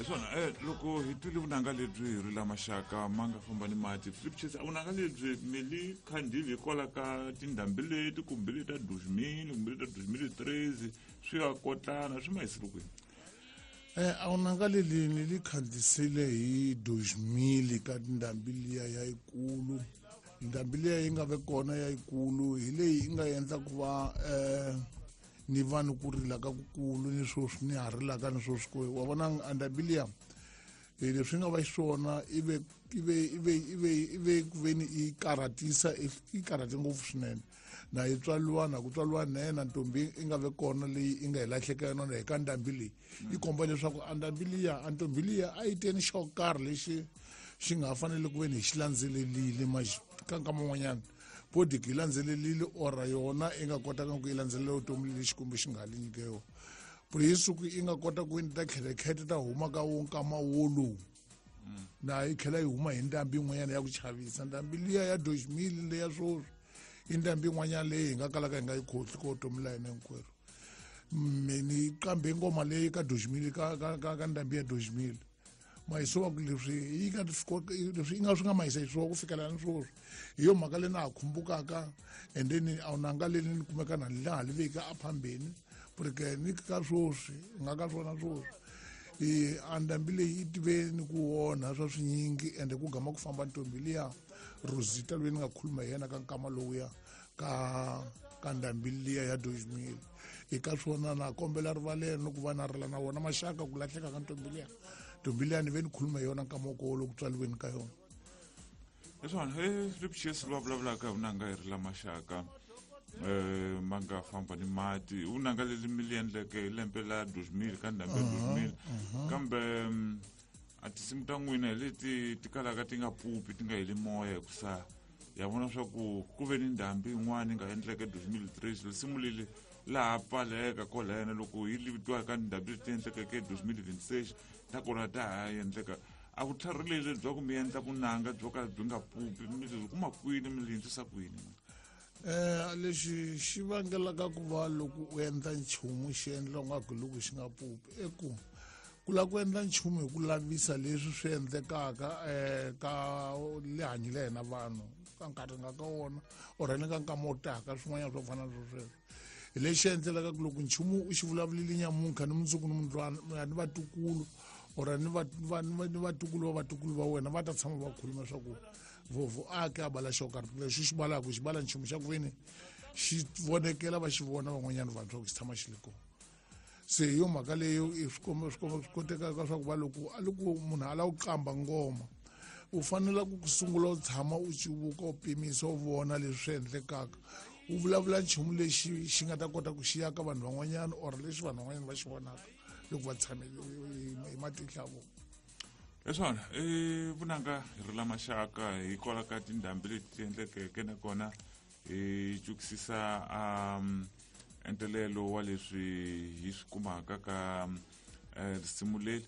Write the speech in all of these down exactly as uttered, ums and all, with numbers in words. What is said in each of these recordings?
Hi swona eh loko hi twile vunanga lebyi hi ri la maxaka ma nga famba ni mati Philip Chase a vunanga lebyi mi li khandile hikwalaho ka tindhambi leti kumbe leti ta deux mille kumbe leti ta deux mille treize swi ya kotlana swi ma hisile kwini? Eh a vunanga leli ni li khandisile hi deux mille ka tindhambi liya ya yikulu. Ndhambi liya yi nga ve kona ya yikulu hi leyi yi nga endla ku va eh ni va ni ku rila ka kukulu ni sweswi ni ha rilaka ni sweswi ku wa vona a ndhambi liya leswi nga va xiswona i ve i ve i ve i ve i ve ku ve ni yi karhatisa yi karhate ngopfu swinene na yi tswaliwa na ku tswaliwa nene ntombi i nga ve kona leyi i nga hi lahleka yona hi ka ndhambi leyi yi komba leswaku a ndhambi liya a ntombi liya a yi teni xo karhi lexi xi nga fanele ku ve ni hi xi landzelelile ka nkama wun'wanyana bodiki yi landzelelile ora yona i nga kotaka ku yi landzelela vutomi lexi kumbe xi nga li nyike yona puri hi siku i nga kota ku ta khelekhete ta huma ka wo nkama wolowu na yi tlhela yi huma hi ndhambi yin'wanyana ya ku chavisa ndhambi liya ya deux mille leya swoswi i ndhambi yin'wanyana leyi hi nga kalaka hi nga yi khohli ka vutomi la hina hinkwerhu me ni qambe ngoma leyi ka deux mille ka ka ka ka ndhambi ya deux mille mayiso wa ku leswi yi nga leswi yi nga swi nga mayisa xiswona ku fikela ni swoswi hi yo mhaka leyi na ha khumbukaka and then a wunanga leli ni kumeka na laha li veka aphambeni porque ni ka swoswi nga ka swona swoswi i a ndhambi leyi yi tive ni ku onha swa swinyingi ende ku gama ku famba ntombi liya Rosita loyi ni nga khuluma hi yena ka nkama lowuya ka ka ndhambi liya ya deux mille eka swona na kombela rivalelo ni ku va na rila na wona maxaka ku lahleka ka ntombi liya ntombi liya ni ve ni khuluma hi yona nkama wokolo loku tswaliweni ka yona. Hi swona e Philip Chase loyi a vulavulaka hi vunanga hi ri la maxaka eh ma nga famba ni mati vunanga leli mi li endleke hi lembe la deux mille ka ndhambi ya deux mille kambe a tinsimu ta n'wina hi leti ti kalaka ti nga pupi ti nga heli moya hikusa ya vona swa ku ku ve ni ndhambi yin'wana yi nga endleka deux mille treize risimu leli laha pfaleka kwalena loko yi vitiwa ka ndhambi leti endlekeke deux mille vingt-six ta kona ta ha endleka a vutlhari leli bya ku mi endla vunanga byo ka byi nga pupi mi byi kuma kwini mi li endlisa kwini? Eh lexi xi vangelaka ku va loko u endla nchumu xi endla ungaku loko xi nga pupi i ku ku lava ku endla nchumu hi ku lavisa leswi swi endlekaka um ka lihanyo la hina vanhu ka nkarhi nga ka wona or ni ka nkama wo taka swin'wanyana swo fana na swo sweswo hi lexi endlelaka ku loko nchumu u xi vulavulile nyamuntlha ni mundzuku ni mundlwana ni vatukulu or ni va ni vatukulu va vatukulu va wena va ta tshama va khuluma swa ku vovo a ke a bala xo karhi lexi xi balaka xi bala nchumu xa ku veni xi vonekela va xi vona van'wanyana vanhu swa ku xi tshama xi li kona se hi yo mhaka leyo i swi komba swi komba swi kotekaka swa ku va loko a loko munhu a lava ku qamba ngoma u fanele ku sungula u tshama u civuka u pimisa u vona leswi swi endlekaka u vulavula nchumu lexi xi nga ta kota ku xi ya ka vanhu van'wanyana or lexi vanhu van'wanyana va xi vonaka loko va tshame hi matihlo ya vona. Hi swona i vunanga hi ri la maxaka hikwalaho ka tindhambi leti ti endlekeke nakona hi cukisisa um entelelo wa leswi hi swi kumaka ka risimu leri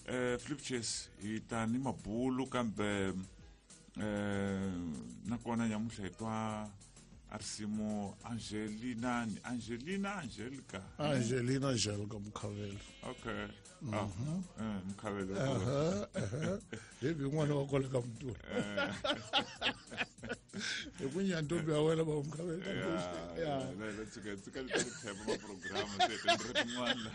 eh Philip Chase hi ta ni mabulu kambe eh nakona nyamuntlha hi twa a risimu Angelina Angelina Angelica Angelina Angelica Mukhavelo. Okay ah eh Mukhavelo hi n'wana wa kwale ka Mutula hi ku nyantombi ya wena va Mukhavelo. Ya tsika tsika le ku thepa ma program se tindri tin'wana.